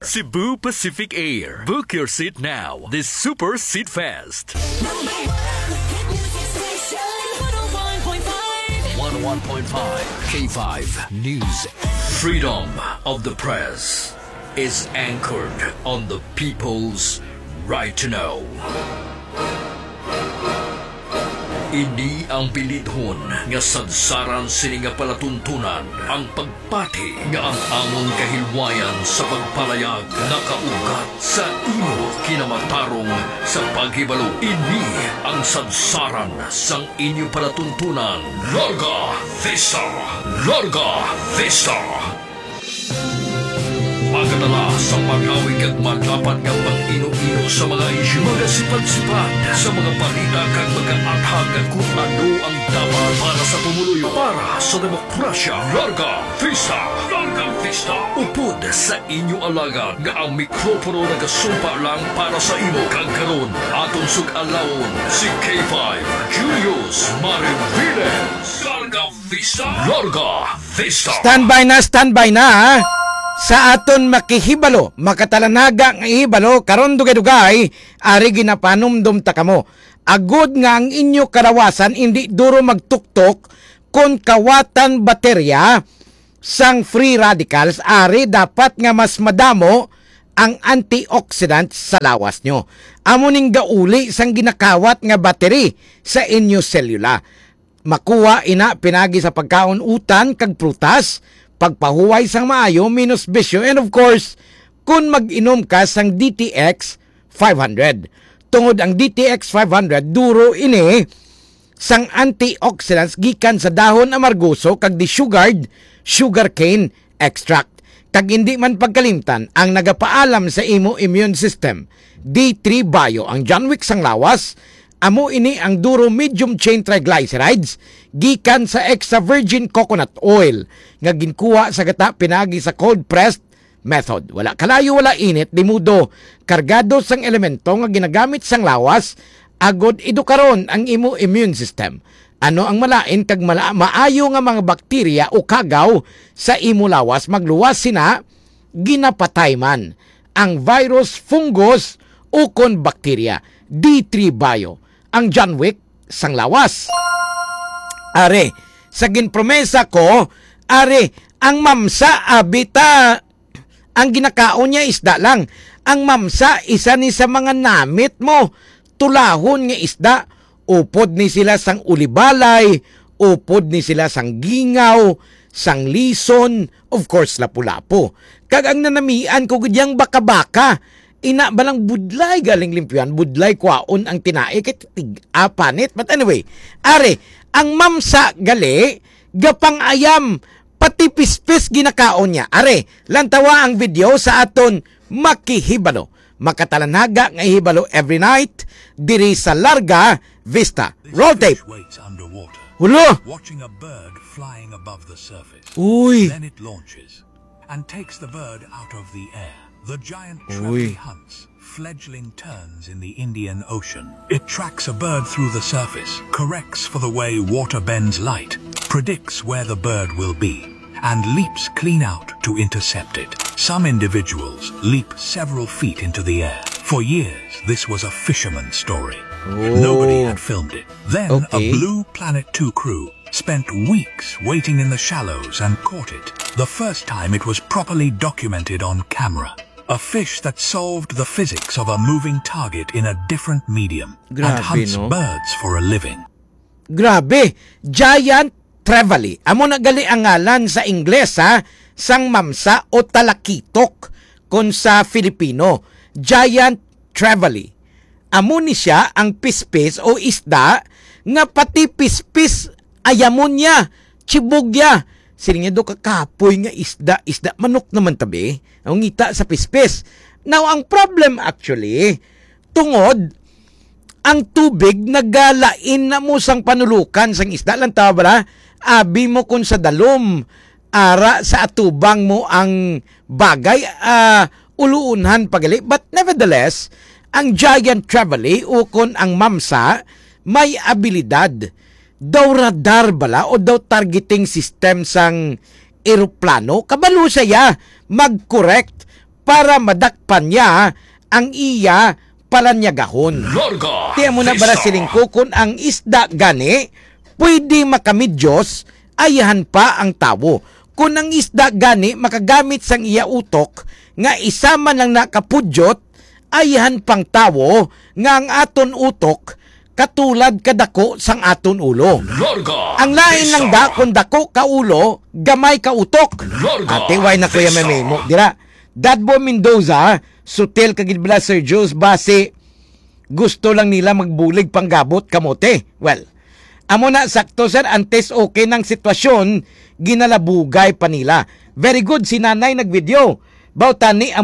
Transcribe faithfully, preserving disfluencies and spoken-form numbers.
Cebu Pacific Air. Book your seat now. This Super Seat Fest. Number one hit music station. One oh one point five. One oh one point five K five News. Freedom of the press is anchored on the people's right to know. Ini ang bilidhon nga sadsaran sini nga palatuntunan, ang pagpati nga ang amon kahilwayan sa pagpalayag nakaugat sa imo kinamatarong sa paghibalo. Ini ang sadsaran sang inyo palatuntunan. Larga Vista! Larga Vista! Magadala sa pag-awig kag madapat nga pag-ino-ino sa mga isyu, magasipad-sipad sa mga balita kag magaathag kung ano ang dapat para sa pumuluyo, para sa demokrasya. Larga Vista! Larga Vista! Upod sa inyo alagad nga ang mikropono nagasumpa lang para sa imo, kag karon aton sug-alawon si K five Julius Mariviles. Larga Vista! Larga Vista! Standby na, standby na, ha? Sa aton makihibalo, makatalanaga nga ihibalo, karon dugay-dugay, ari ginapanumdom ta kamo. Agod nga ang inyo kalawasan indi duro magtuktok kon kawatan baterya sang free radicals, ari dapat nga mas madamo ang antioxidant sa lawas nyo. Amo ning gauli sang ginakawat nga battery sa inyo selula. Makuha ina pinagi sa pagkaon utan kag prutas, pagpahuway sang maayo, menos bisyo, and of course, kun mag-inom ka sang D T X five hundred. Tungod ang D T X five hundred, duro ini sang antioxidants gikan sa dahon amargoso kag desugared sugarcane extract. Kag indi man pagkalimtan ang nagapaalam sa imo immune system. D three Bio, ang John Wick sang lawas, amo ini ang duro medium chain triglycerides gikan sa extra virgin coconut oil nga ginkuha sa gata pinagi sa cold pressed method. Wala kalayo, wala init, di mudo, kargado sang elemento nga ginagamit sang lawas agod edukaron ang imo immune system. Ano ang malain kag mala-, maayo nga mga bakterya o kagaw sa imo lawas, magluwas sina ginapatay man ang virus, fungus, ukon bakterya. D three Bio, ang John Wick sang lawas. Are, sa ginpromesa ko, are, ang mamsa, abi ta, ang ginakaon niya isda lang. Ang mamsa, isa ni sa mga namit mo. Tulahon nga isda. Upod ni sila sang ulibalay, upod ni sila sang gingaw, sang lison, of course, lapu-lapu. Kag ang nanamian ko gid yang baka-baka, ina ba lang budlay galing limpyuhan, budlay kwaon ang tinai kay tig-, ah, panit. But anyway, are, ang mamsa gali, gapang-ayam, pati pispis ginakaon niya. Are, lantawa ang video sa aton makihibalo. Makatalanaga nga hibalo every night diri sa Larga Vista. This Roll tape. Fish waits underwater, Hulo! Watching a bird flying above the surface. Uy! Then it launches and takes the bird out of the air. The giant Uy. Trevally hunts fledgling terns in the Indian Ocean. It tracks a bird through the surface, corrects for the way water bends light, predicts where the bird will be, and leaps clean out to intercept it. Some individuals leap several feet into the air. For years, this was a fisherman's story. Oh. Nobody had filmed it. Then, a Okay. Blue Planet two crew spent weeks waiting in the shallows and caught it. The first time it was properly documented on camera. A fish that solved the physics of a moving target in a different medium and Grabe, hunts no? birds for a living. Grabe, giant trevally. Amo na gali ang ngalan sa Ingles, ha, sang mamsa o talakitok kon sa Filipino. Giant trevally. Amo ni sia ang pispis o isda nga pati pispis ayamon niya, chibog niya. Siling niya, "Do ka kapoy nga isda, isda, manok naman tabi. Ang ngita sa pispis." Now, ang problem actually, tungod ang tubig nagalain na mo sang panulukan sang isda lang, tawa bala? Abi mo kung sa dalom, ara sa atubang mo ang bagay, ah, uluunhan pagali. But nevertheless, ang giant trevally ukon ang mamsa may abilidad. Daw radar bala o daw targeting system sang eroplano? Kabalo siya mag-correct para madakpan niya ang iya palanyagahon. Larga Ti amo na bala Vista. Siling ko, kun ang isda gani pwede makamidyos, ayahan pa ang tawo. Kun ang isda gani makagamit sang iya utok nga isa man lang nakapudyot, ayahan pang tawo nga ang aton utok katulad kadako sang aton ulo. Larga Ang lain lang Vista. Da kun dako ka ulo, gamay ka utok. Larga Ate, why na kuya Vista. Mamimo? Dira, Dadbo Mendoza, sutil ka gid bala, Sir Jules, basi gusto lang nila magbulig panggabot kamote. Well, amo na, sakto, sir, antes okay nang sitwasyon, ginalabugay pa nila. Very good, si nanay nag-video. Baw tani amo